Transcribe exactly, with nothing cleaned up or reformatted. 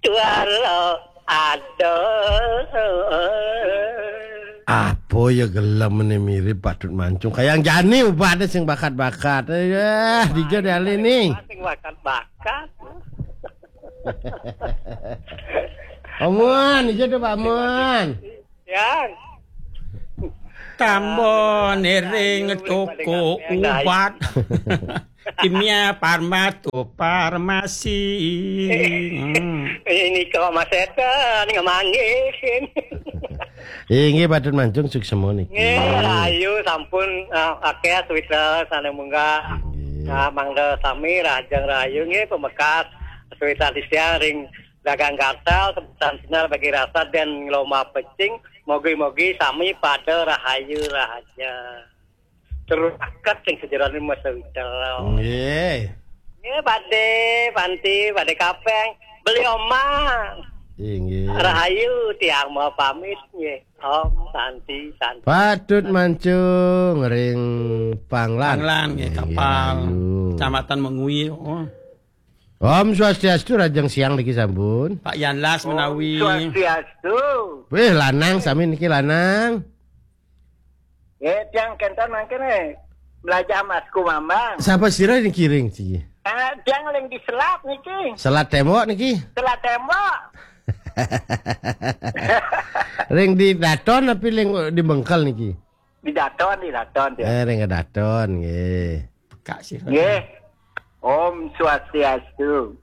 Walau ada. Apa ya gelem ne mirip Patut Mancung? Kayak jani ubahne sing bakat-bakat. Eh, dija deh ali ni. Sing bakat-bakat. Amun, dija tuh Pak Amun. Yang Tambon ering toko ubat. Kimia Farma to Farmasi. Hmm. Ini kok Mas Eta nih ngemanggil. Eh, nggih Patut Mancung suksema niki. Nggih, rahayu sampun uh, akeh sawitra sane munggah. Nah, mangda sami rahajeng rahayu nggih pamekas sawitra titiang ring dagang gatel sebutan sinar bagi rasa dan lomba pecing. Mogi-mogi sami pada rahayu rahaja. Terus akat sing sejerone mas sawitra. Nggih. Nggih, Pakde, Panti, Pakde Kapeng, beli omah. Inggih. Rahayu tiang mau pamit nggih. Om Santi Santi. Patut Mancung ring Panglan. Panglan nggih, Inggih, Kapal. rahayu. Kecamatan Mengwi. Oh. Om Swastiastu, rahajeng siang niki sampun. Pak Yanlas menawi. Swastiastu. Wih, lanang sami niki lanang. Nggih, tiang kenten mangkene belajar Mas Kumambang. Sapa sira niki ring siki? Eh, tiang ling di selat niki. Selat tembok niki. Selat tembok. Ring di Daton tapi ling di Bengkel niki. Di Daton, di Daton tiang. Eh, ring Daton nggih. Kak sih. Nggih. Om Swastiastu.